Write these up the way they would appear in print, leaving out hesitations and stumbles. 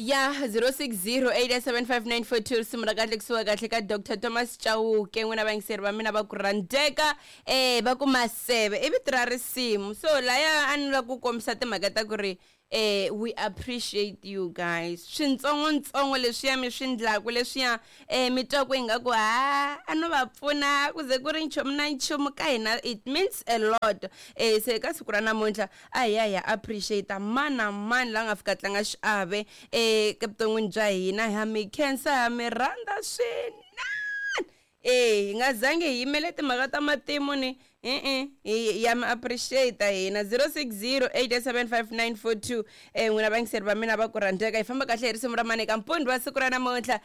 Ya 06087594 risimu ra kahle kusuka kahle ka Dr Thomas Chauke. N'wina vayingiseri va mina va ku rhandzeka, va ku maseve i vito ra risimu. So laya a ni lava ku kombisa timhaka ta ku ri we appreciate you guys. Swintsongontsongo leswiya mi swi ndlaku leswiya, mi twa ku ingaku ha a no va pfuna ku ze ku ri nchumu na nchumu ka hina, it means a lot. Se ka siku ra namuntlha a hi ya hi ya appreciate mani na mani la nga fika tlanga xiave evuton'wini bya hina. Ha mi khensa, ha mi rhandza swinene. Hi nga zangi hi yimele timhaka ta matimu ni e-e, hi ya mi appreciate hina. 0608759442. N'wina vayingiseri va mina va ku rhandzeka, hi famba kahle hi risimu ra mani eka mpundzu wa siku ra namuntlha.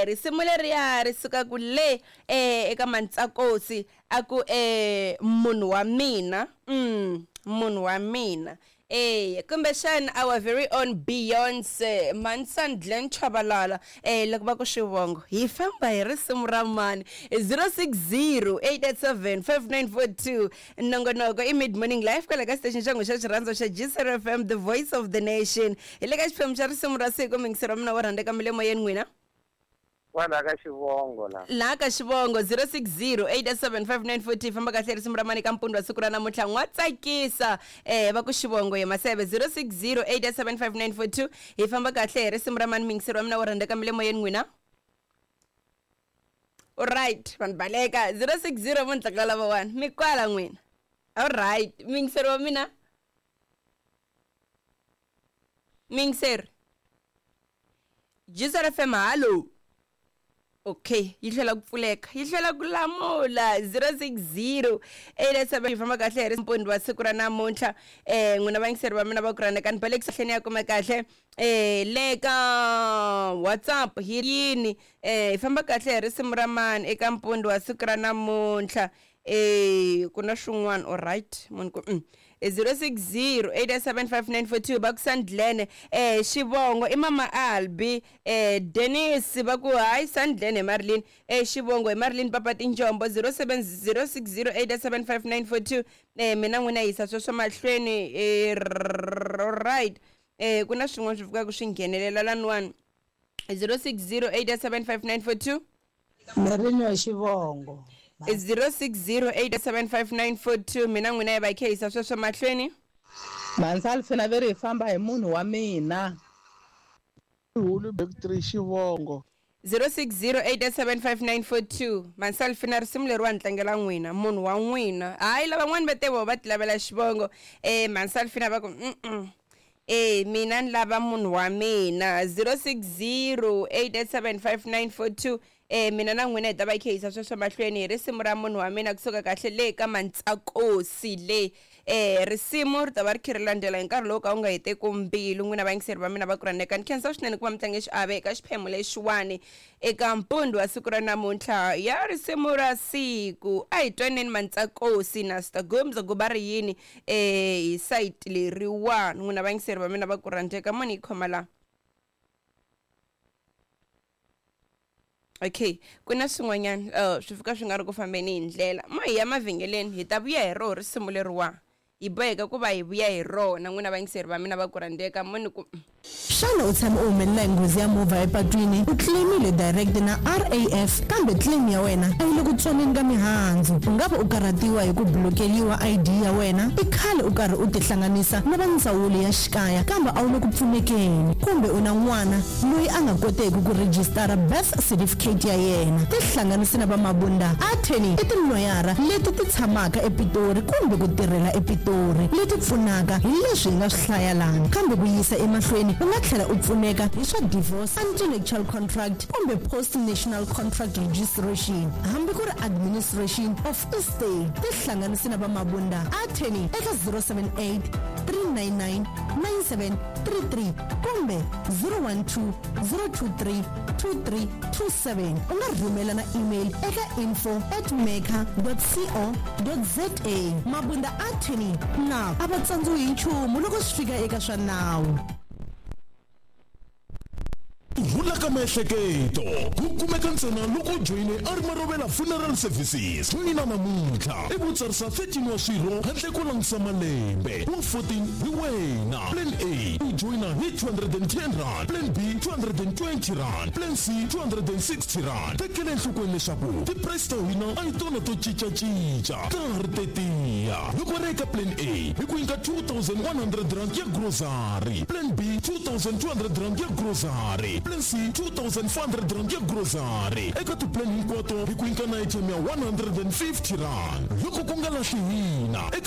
Risimu leriya ri suka ku le eka Mantsakosi, a ku munhu wa mina, munhu wa mina. Kumbexana our very own Beyonce, Mansan Glen Chabalala, loko va ku xivongo hi famba hi risimu ra mani. 0608875942. Nongonoko i Mid Morning Life kwala ka station xa n'wi xa xirhandzo xa GCR FM, the voice of the nation. Hi le ka xiphemu xa risimu ra siku. Mingisero wa mina wo rhandzeka mi le moyeni n'wina. Kwala ka xivongo la. Laha ka xivongo 06087594 famba kahle risimu ra mani ka mpundzu wa siku ra namuntlha. N'wa tsakisa, va ku xivongo hi maseve. 06087594 hi famba kahle hi risimu ra mani. Mingisero wa mina wo rhandzeka mi le moyeni n'wina. Alright, vanhu baleka 060 vo ntlakala lava wani mi kwala n'wina. Alright, mingisero wa mina, mingiseri GCR FM, hallo. Okay, yi hlwela ku pfuleka, yi hlwela ku lamula. 060 87 yi famba kahle hi mpundzu wa siku ra namuntlha. N'wina vayingiseri va mina va ku rhandza, ni balekisa hleni ya kume kahle le ka WhatsApp hi yini. Hi famba kahle hi risimu ra mani eka mpundzu wa siku ra namuntlha. Ku na swin'wana. Alright, munhu ku 06087594 va ku Sandlene, xivongo i mama Albi, Dennis va ku hayi Sandlene hi Marilyn, xivongo hi Marilyn Papa Tinjombo. 0706087594. Mina n'wina yisa sweswo mahlweni. Right, ku na swin'wana swi fikaka swi nghenelela laniwani. 06087594. Marilyn wa xivongo 06087594. Mina n'wina yi va khe yisa sweswo mahlweni. Mansalfina ve ri hi famba hi munhu wa mina. Hulu back 3 xivongo. 06087594. Mansalfina, risimu leriwani tlangela n'wina, munhu wa n'wina. Hayi, lavan'wani va te vo va ti lavela xivongo. Mansalfina va ku mina ni lava munhu wa mina. 06087594. Mina na n'wina hi ta va khe yisa sweswo mahlweni hi risimu ra munhu wa mina kusuka kahle le ka Mantsakosi le. Risimu ri ta va ri khe ri landzela hi nkarhi lowu ka wu nga heteku mbilu. N'wina vayingiseri va mina va ku rhandzeka, ni khensa swinene ku va mi tlange xiave eka xiphemu lexiwani eka mpundzu wa siku ra namuntlha ya risimu ra siku. A hi twaneni Mantsakosi na Stagumza ku va ri yini hi sayiti leriwani. N'wina vayingiseri va mina va ku rhandzeka, moni yi khoma la. Okay, ku na swin'wanyana swi fika swi nga ri ku fambeni hi ndlela. Mo hi ya mavhengeleni, hi ta vuya hi roho risimu leriwa, hi boheka ku va hi vuya hi rona. N'wina vayingiseri va mina va ku rhandzeka, moni ku Xana u tshame u humelela hi nghozi ya movha epatwini? U claim-ile direct na RAF kambe claim ya wena a yi le ku tsoneni ka mihandzu. U nga va u karhatiwa hi ku blokeriwa ID ya wena? I khale u karhi u tihlanganisa na va ndzawulo ya xikaya kambe a wu le ku pfunekeni. Kumbe u na n'wana loyi a nga koteki ku rhijisitara birth certificate ya yena? Tihlanganise na va Mabunda Attorney, i tiloyara leti ti tshamaka ePitori kumbe ku tirhela ePitori leti pfunaka hi leswi hi nga swi hlaya lani. Kambe ku yisa emahlweni u nga tlhela u pfuneka hi swa divorce, anti-nuptial contract kumbe post-national contract registration, hambi ku ri administration of estate. Tihlanganise na va Mabunda Attorney eka 078 399 9733 kumbe 012 023 2327. U nga rhumela na email eka info@maker.co.za. Mabunda Attorney na a va tsandziwi hi nchumu loko swi fika eka swa nawu. Ku rhula ka miehleketo ku kumeka ntsena loko u joyine a ri Marovela Funeral Services. Joyina namuntlha ivi u tsarisa 13 wa swirho handle ko langutisa malembe. Wa 14 hi wena. Plan A u joyina hi 210 rand, Plan B 220 rand, Plan C 260 rand. Tekela enhlokweni leswaku ti-price ta hina a hi tona to cincacinca, ta ha ri tetiya. Loko ri eka Plan A hi ku nyika 2100 rand ya grocery, Plan B 2200 rand ya grocery, Plan C 2400 rand ya grocery. Eka ti-plan hinkwato hi ku nyika na airtime ya 150 rand. Loko ku nga lahli hina eka